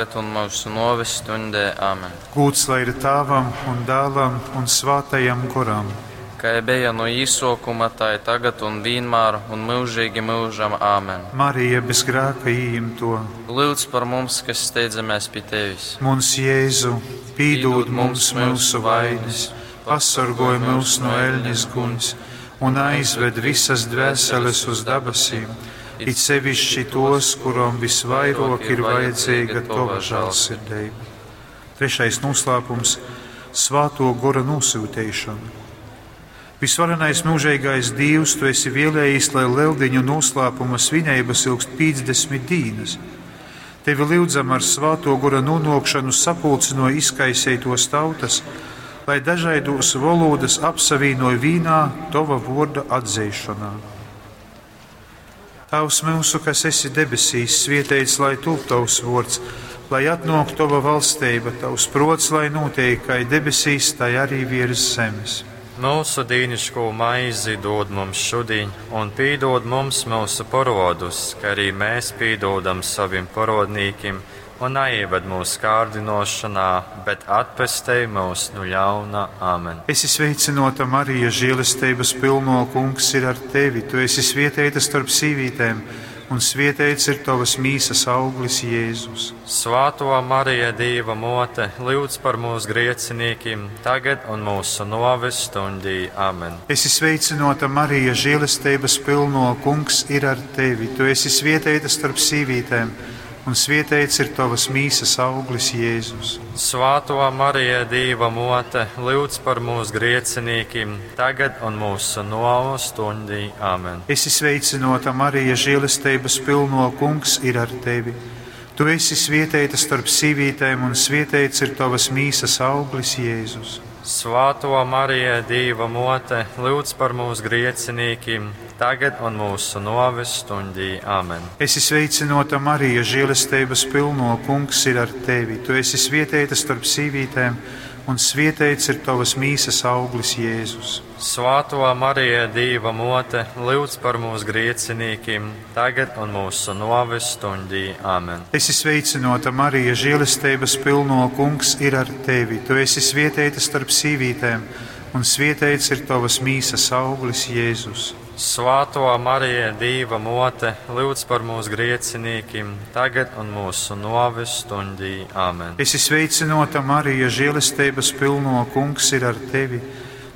un mūsu nōves stundē. Āmen. Gūds lai ir Tāvam un Dēlam un Svātajam Goram. Kā bija no īsokuma, tā ir tagad un vienmēr un mūžīgi mūžam. Āmen. Marija bez grēka ieimto. Lūdz par mums, kas steidzamies pie tevis. Muns Jēzu, pīdūd mums mūsu vainas, pasargoj mūs no eļņas guņas un aizved visas dvēseles uz dabasīm, it sevišķi tos, kurom visvairāk ir vajadzīga tova žēlsirdība. Trešais noslēpums - Svāto gora nosūtīšana. Visvarenais mūžīgais Dievs, tu esi vēlējis, lai lieldiņu noslēpuma svinības ilgst 50 dienas. Tevi lūdzam ar svāto gora nonākšanu sapulcino izkaisētos tautas, lai dažādos valodas apsavīnoja vīnā tova vorda atzīšanā. Tavs mūsu, kas esi debesīs, svietēts, lai tūp tavs vords, lai atnāk tava valstība, tavs prots, lai notiek, kā debesīs, tai arī virs zemes. Mūsu dīniško maizi dod mums šodien, un pīdod mums mūsu parodus, kā arī mēs pīdodam saviem parodnīkim, un neieved mūsu kārdinošanā, bet atpestej mūs no ļauna. Āmen. Esi sveicināta, Marija, žēlestības pilno kungs ir ar tevi. Tu esi svietēta starp sīvītēm, un svietēts ir tavas mīsas auglis, Jēzus. Svāto Marija, Dieva mote, lūdz par mūsu griecinīkim, tagad un mūsu noves stundī. Amen. Esi sveicināta, Marija, žēlestības pilno kungs ir ar tevi. Tu esi svietēta starp sīvītēm, un svietēts ir tavas mīsas auglis, Jēzus. Svāto Marija, Dieva mote, lūdz par mūsu griecinīkim, tagad un mūsu noves stundī. Amen. Esi sveicināta, Marija, žēlestības pilno kungs ir ar tevi. Tu esi svietēta starp sīvītēm, un svietēts ir tavas mīsas auglis, Jēzus. Svāto Marija, Dieva mote, lūdz par mūsu griecinīkim, tagad un mūsu noves stundī. Amen. Esi sveicināta, Marija, žēlestības pilno kungs ir ar tevi. Tu esi svietēta starp sīvītēm, un svietēts ir tavas mīsas auglis, Jēzus. Svāto Marija, Dieva mote, lūdz par mūsu griecinīkim, tagad un mūsu noves stundī. Amen. Esi sveicināta, Marija, žēlestības pilno kungs ir ar tevi. Tu esi svietēta starp sīvītēm, un svietēts ir tavas mīsas auglis, Jēzus. Svāto Marija, Dieva mote, lūdz par mūsu griecinīkim, tagad un mūsu noves stundī. Amen. Esi sveicināta, Marija, žēlestības pilno kungs ir ar tevi.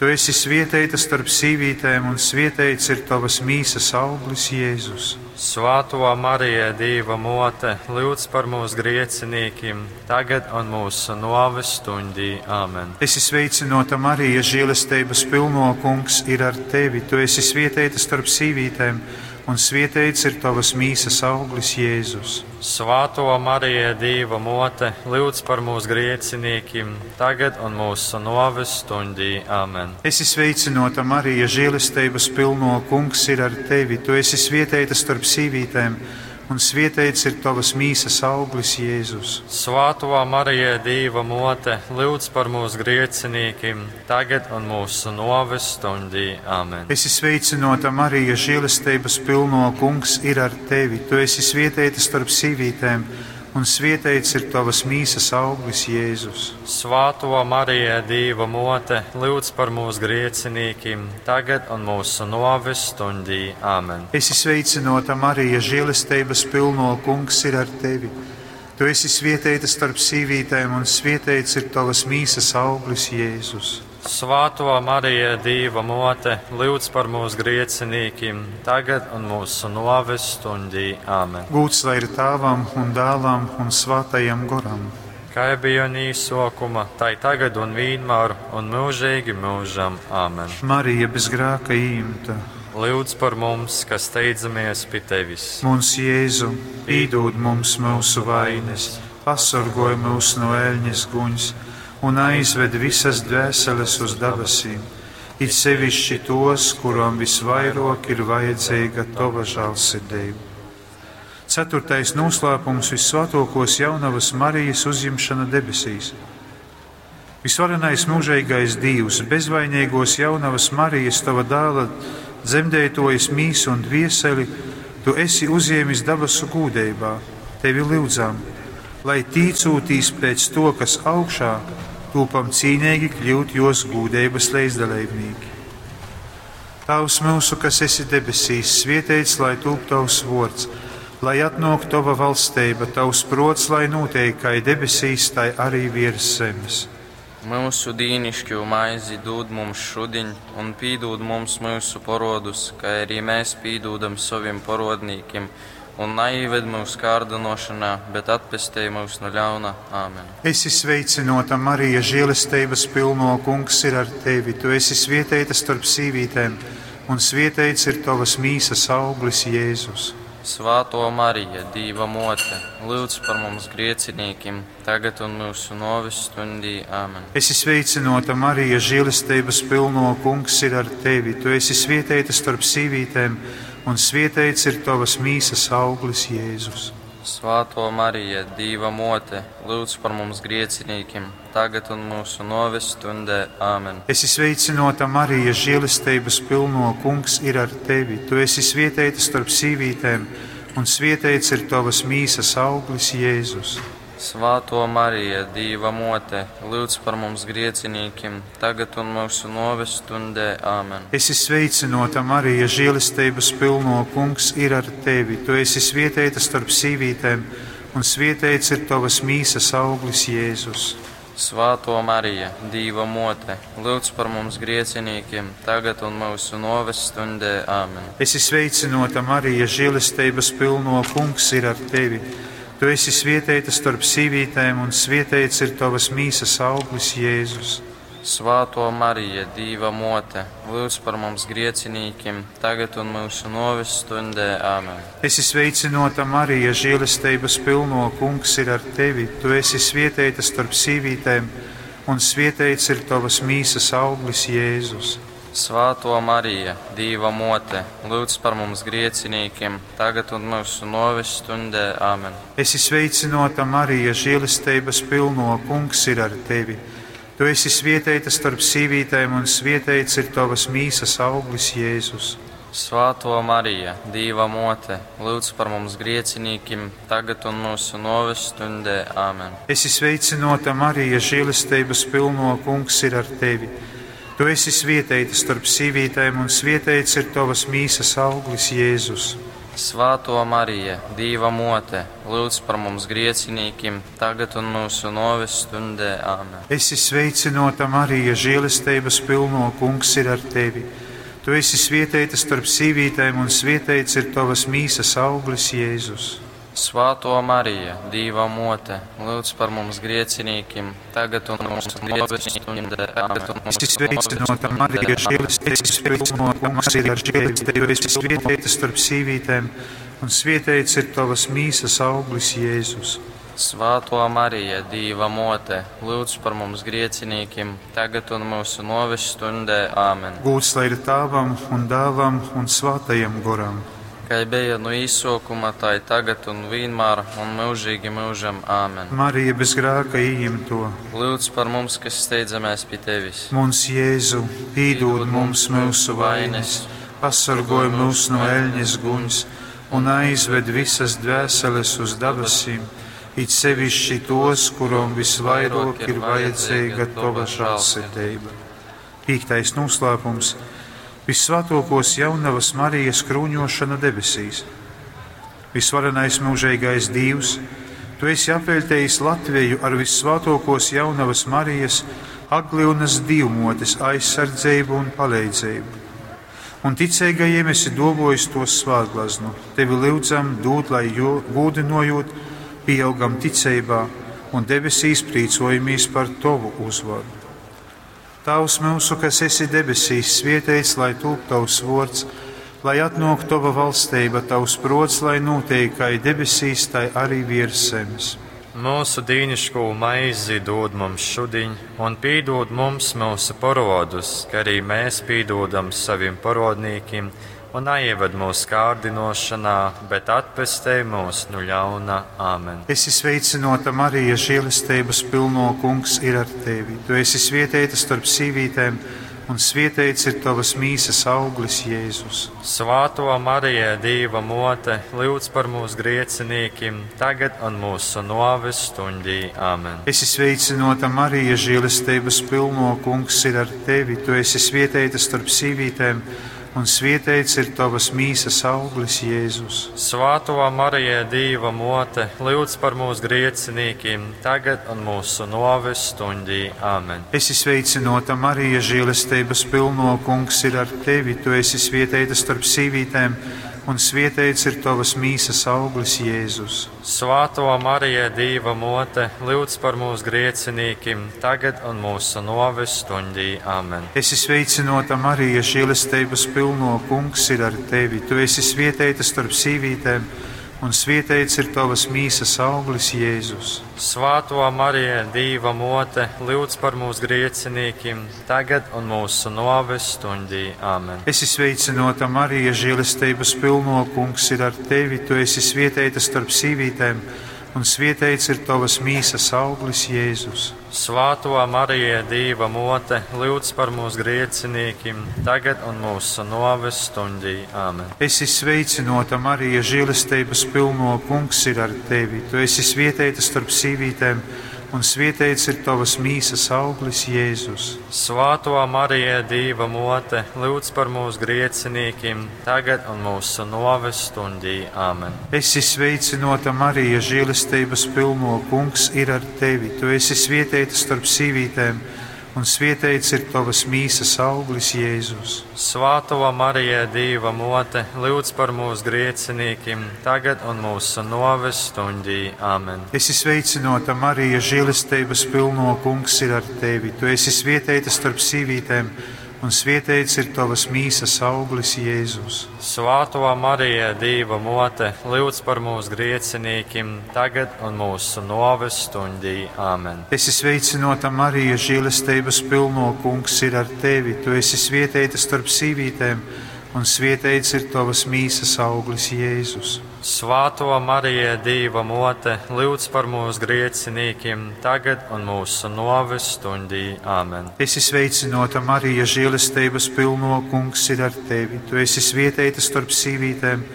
Tu esi svietēta starp sīvītēm, un svietēts ir tavas mīsas auglis, Jēzus. Svāto Marija, Dieva mote, lūdz par mūsu griecinīkim, tagad un mūsu noves stundī. Amen. Esi sveicināta, Marija, žēlestības pilno kungs ir ar tevi. Tu esi svietēta starp sīvītēm, un svietēts ir tavas mīsas auglis, Jēzus. Svāto Marija, Dieva mote, lūdz par mūsu griecinīkim, tagad un mūsu noves stundī. Amen. Esi sveicināta, Marija, žēlestības pilno kungs ir ar tevi. Tu esi svietēta starp sīvītēm, un svietēts ir tavas mīsas auglis, Jēzus. Svāto Marija, Dieva mote, lūdz par mūsu griecinīkim, tagad un mūsu noves stundī. Amen. Esi sveicināta, Marija, žēlestības pilno kungs ir ar tevi. Tu esi svietēta starp sīvītēm, un svietēts ir tavas mīsas auglis, Jēzus. Svāto Marija, Dieva mote, lūdz par mūsu griecinīkim, tagad un mūsu noves stundī. Amen. Esi sveicināta, Marija, žēlestības pilno kungs ir ar tevi. Tu esi svietēta starp sīvītēm, un svietēts ir tavas mīsas auglis, Jēzus. Svāto Marija, Dieva mote, lūdz par mūsu griecinīkim, tagad un mūsu noves stundī. Amen. Gūts lai ir Tēvam un Dēlam un Svātajam Goram. Kā bija un īsokuma, tai tagad un vienmēr un mūžīgi mūžam. Amen. Marija bez grēka īmta. Lūdz par mums, kas steidzamies pie tevis. Mums Jēzu, pīdod mums mūsu vainas, pasargoj mūs no eļņas guņas un aizved visas dvēseles uz debesīm, it sevišķi tos, kurām visvairāk ir vajadzīga tava žēlsirdība. Ceturtais noslēpums - visvētākos jaunavas Marijas uzņemšana debesīs. Visvarenais mūžīgais Dievs, bezvainīgos jaunavas Marijas, tava dēla dzemdētojas mīsu un dvieseli, tu esi uzņēmis dabasu gūdībā, tevi lūdzam. lai tīcūtīs pēc to, kas augšā, tūpam cīnīgi kļūt jos gūdeibas leizdaleibnīki. Tavs mūsu, kas esi debesīs, svietēts, lai tūp tavs vords, lai atnāk tava valstība, tavs prots, lai notiek kā debesīs, tai arī virs zemes. Mūsu dīnišķo maizi dod mums šodien, un pīdod mums mūsu porodus, kā arī mēs pīdodam saviem porodnīkiem, un neieved mūsu kārdinošanā, bet atpestej mūs no ļauna. Āmen. Esi sveicinota, Marija, žēlestības pilno kungs ir ar tevi. Tu esi svietēta starp sīvītēm, un svietēts ir tavas mīsas auglis Jēzus. Svāto Marija, Dīva mote, lūdz par mums griecinīkim, tagad un mūsu novis stundī. Āmen. Esi sveicinota, Marija, žēlestības pilno kungs ir ar tevi. Tu esi svietēta starp sīvītēm, un svietēts ir tavas mīsas auglis Jēzus. Svāto Marija, Dīva mote, lūdz par mums griecinīkim, tagad un mūsu novis stundē. Āmen. Esi sveicinota, Marija, žēlestības pilno kungs ir ar tevi. Tu esi svietēta starp sīvītēm, un svietēts ir tavas mīsas auglis Jēzus. Svāto Marija, Dīva mote, lūdz par mums griecinīkim, tagad un mūsu novis stundē. Āmen. Esi sveicinota, Marija, žēlestības pilno kungs ir ar tevi. Tu esi svietēta starp sīvītēm, un svietēts ir tavas mīsas auglis Jēzus. Svāto Marija, Dīva mote, lūdz par mums griecinīkiem, tagad un mūsu noves stundē. Āmen. Esi sveicinota, Marija, žēlestības pilno kungs ir ar tevi. Tu esi svietēta starp sīvītēm, un svietēts ir tavas mīsas auglis Jēzus. Svāto Marija, Dīva mote, lūdz par mums griecinīkiem, tagad un mūsu noves stundē. Āmen. Esi sveicinota, Marija, žēlestības pilno kungs ir ar tevi. Tu esi svietēta starp sīvītēm, un svietēts ir tavas mīsas auglis Jēzus. Svāto Marija, Dīva mote, lūdz par mums griecinīkiem, tagad un mūsu noves stundē. Āmen. Esi sveicinota, Marija, žēlestības pilno kungs ir ar tevi. Tu esi svietēta starp sīvītēm, un svietēts ir tavas mīsas auglis Jēzus. Svāto Marija, Dīva mote, lūdz par mums griecinīkim, tagad un mūsu noves stundē. Āmen. Esi sveicinota, Marija, žēlestības pilno kungs ir ar tevi. Tu esi svietēta starp sīvītēm, un svietēts ir tavas mīsas auglis Jēzus. Svāto Marija, Dīva mote, lūdz par mums griecinīkim, tagad un mūsu noves stundē. Āmen. Esi sveicinota, Marija, žēlestības pilno kungs ir ar tevi. Tu esi svietēta starp sīvītēm, un svietēts ir tavas mīsas auglis Jēzus. Svāto Marija, Dīva mote, lūdz par mums griecinīkim, tagad un mūsu noves stundē. Āmen. Esi sveicinota, Marija, žēlestības pilno kungs ir ar tevi. Tu esi svietēta starp sīvītēm, un svietēts ir tavas mīsas auglis Jēzus. Svāto Marija, Dīva mote, lūdz par mums griecinīkim, tagad un mūsu noves stundē. Āmen. Gūts lai ir Tēvam un Dēlam un Svētajam Goram. Kā bija no īsokuma, tā ir tagad un vienmēr un mūžīgi mūžam. Āmen. Marija bez grēka ieimto. Lūdz par mums, kas steidzamies pie tevis. Mums Jēzu, pīdod mums mūsu vainas, pasargoj mūs no eļņas guņas un aizved visas dvēseles uz dabasīm, it sevišķi tos, kurom visvairāk ir vajadzīga tava žēlsirdība. Piektais noslēpums - Visvētākos jaunavas Marijas krūņošana debesīs. Visvarenais mūžīgais Dievs, Tu esi apveļtējis Latviju ar visvētākos jaunavas Marijas Agliunas divmotes aizsardzību un palīdzību. Un ticīgajiem esi dovojis to svētglaznu. Tevi lūdzam dot, lai jo gūdinojot, pieaugam ticībā un debesīs prīcojamies par Tavu uzvaru. Tavs mūsu, kas esi debesīs, svietēts, lai tūp Tavs vārds, lai atnāk Tava valstība, Tavs prots, lai notiek kā debesīs, tai arī virs zemes. Mūsu dīniško maizi dod mums šodien, un pīdod mums mūsu parodus, kā arī mēs pīdodam saviem parodnīkim, un neieved mūsu kārdinošanā, bet atpestej mūs no ļauna. Āmen. Esi sveicinota, Marija, žēlestības pilno kungs ir ar tevi. Tu esi svietēta starp sīvītēm, un svietēts ir tavas mīsas auglis, Jēzus. Svāto Marija, Dīva mote, lūdz par mūsu griecinīkim, tagad un mūsu noves stundī. Āmen. Esi sveicināta, Marija, žēlestības pilno, kungs ir ar tevi. Tu esi svietēta starp sīvītēm, un svietēts ir tavas mīsas auglis, Jēzus. Svāto Marija, Dīva mote, lūdz par mūsu griecinīkim, tagad un mūsu noves stundī. Āmen. Esi sveicināta, Marija, žēlestības pilno, kungs ir ar tevi. Tu esi svietēta starp sīvītēm, un svietēts ir tavas mīsas auglis, Jēzus. Svāto Marija, Dīva mote, lūdz par mūsu griecinīkim, tagad un mūsu noves stundī. Āmen. Esi sveicināta, Marija, žēlestības pilno, kungs ir ar tevi. Tu esi svietēta starp sīvītēm, un svietēts ir tavas mīsas auglis, Jēzus. Svāto Marija, Dīva mote, lūdz par mūsu griecinīkim, tagad un mūsu noves stundī. Āmen. Esi sveicināta, Marija, žēlestības pilno, kungs ir ar tevi. Tu esi svietēta starp sīvītēm, un svietēts ir tavas mīsas auglis, Jēzus. Svāto Marija, Dīva mote, lūdz par mūsu griecinīkim, tagad un mūsu noves stundī. Āmen. Esi sveicināta, Marija, žēlestības pilno, kungs ir ar tevi. Tu esi svietēta starp sīvītēm, un svietēts ir tavas mīsas auglis, Jēzus. Svāto Marija, Dīva mote, lūdz par mūsu griecinīkim, tagad un mūsu noves stundī. Āmen. Esi sveicināta, Marija, žēlestības pilno, kungs ir ar tevi. Tu esi svietēta starp sīvītēm, un svietēts ir tavas mīsas auglis, Jēzus. Svāto Marija, Dīva mote, lūdz par mūsu griecinīkim, tagad un mūsu noves stundī. Āmen. Esi sveicināta, Marija, žēlestības pilno, kungs ir ar tevi. Tu esi svietēta starp sīvītēm, un svietēts ir tavas mīsas auglis, Jēzus. Svāto Marija, Dīva mote, lūdz par mūsu griecinīkim, tagad un mūsu noves stundī. Āmen. Esi sveicināta, Marija, žēlestības pilno, kungs ir ar tevi. Tu esi svietēta starp sīvītēm, un svietēts ir tavas mīsas auglis, Jēzus. Svāto Marija, Dīva mote, lūdz par mūsu griecinīkim, tagad un mūsu noves stundī. Āmen. Esi sveicināta, Marija, žēlestības pilno, kungs ir ar tevi. Tu esi svietēta starp sīvītēm,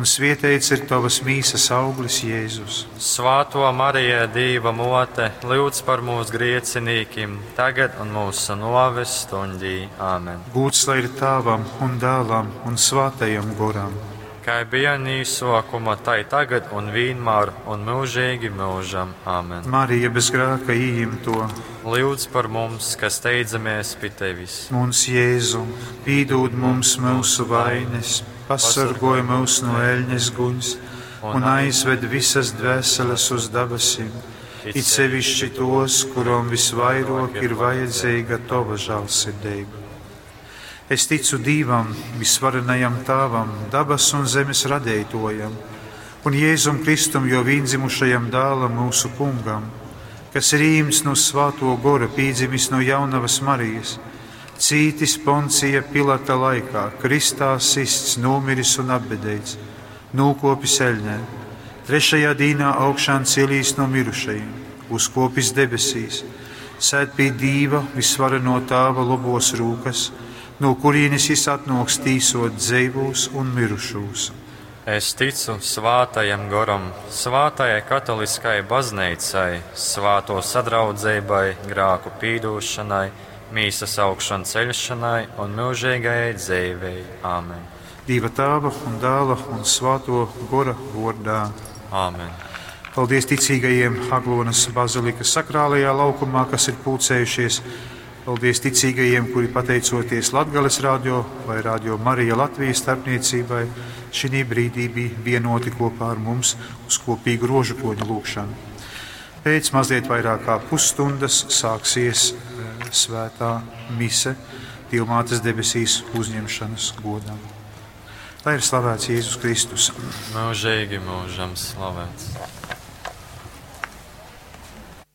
un svietēts ir tavas mīsas auglis, Jēzus. Svāto Marija, Dīva mote, lūdz par mūsu griecinīkim, tagad un mūsu noves stundī. Āmen. Gūts lai ir tēvam un dēlam un svātajam goram. Kā bija nīsokuma, tai tagad un vienmēr un mūžīgi mūžam. Āmen. Marija bez grēka ieimto, Lūdz par mums, kas steidzamies pie tevis. Mums Jēzu, pīdūd mums mūsu vainas, pasargoj mūs no eļņas guņas un aizved visas dvēseles uz dabasim, it sevišķi tos, kurom visvairāk ir vajadzīga tava žēlsirdība. Es ticu Dievam, visvarenajam Tēvam, dabas un zemes radītojam, un Jēzum Kristum, jo vienzimušajam dēlam mūsu kungam, kas ir īms no svāto gora, pīdzimis no jaunavas Marijas, cītis Poncija Pilata laikā, kristā sists, nomiris un apbedēts, nūkopis eļņē, trešajā dīnā augšām celīs no mirušajiem, uzkopis debesīs, sēd pie Dīva visvareno Tēva lobos rūkas, no kurienes jis atnoks tīsot dzeivūs un mirušūs. Es ticu svātajam goram, svātajai katoliskai baznīcai, svāto sadraudzībai, grāku pīdūšanai, mīsas augšanu ceļšanai un mūžīgajai dzīvei. Āmen. Dieva tēva un dēla un svāto gora vārdā. Āmen. Paldies ticīgajiem Aglonas bazilikas sakrālajā laukumā, kas ir pulcējušies. Paldies ticīgajiem, kuri pateicoties Latgales radio vai Radio Marija Latvijas starpniecībai, šī brīdī bija vienoti kopā ar mums uz kopīgu rožu kroņa lūgšanu. Pēc mazliet vairāk kā pusstundas sāksies svētā mise Dievmātes debesīs uzņemšanas godam. Lai ir slavēts Jēzus Kristus. Mūžīgi mūžam slavēts.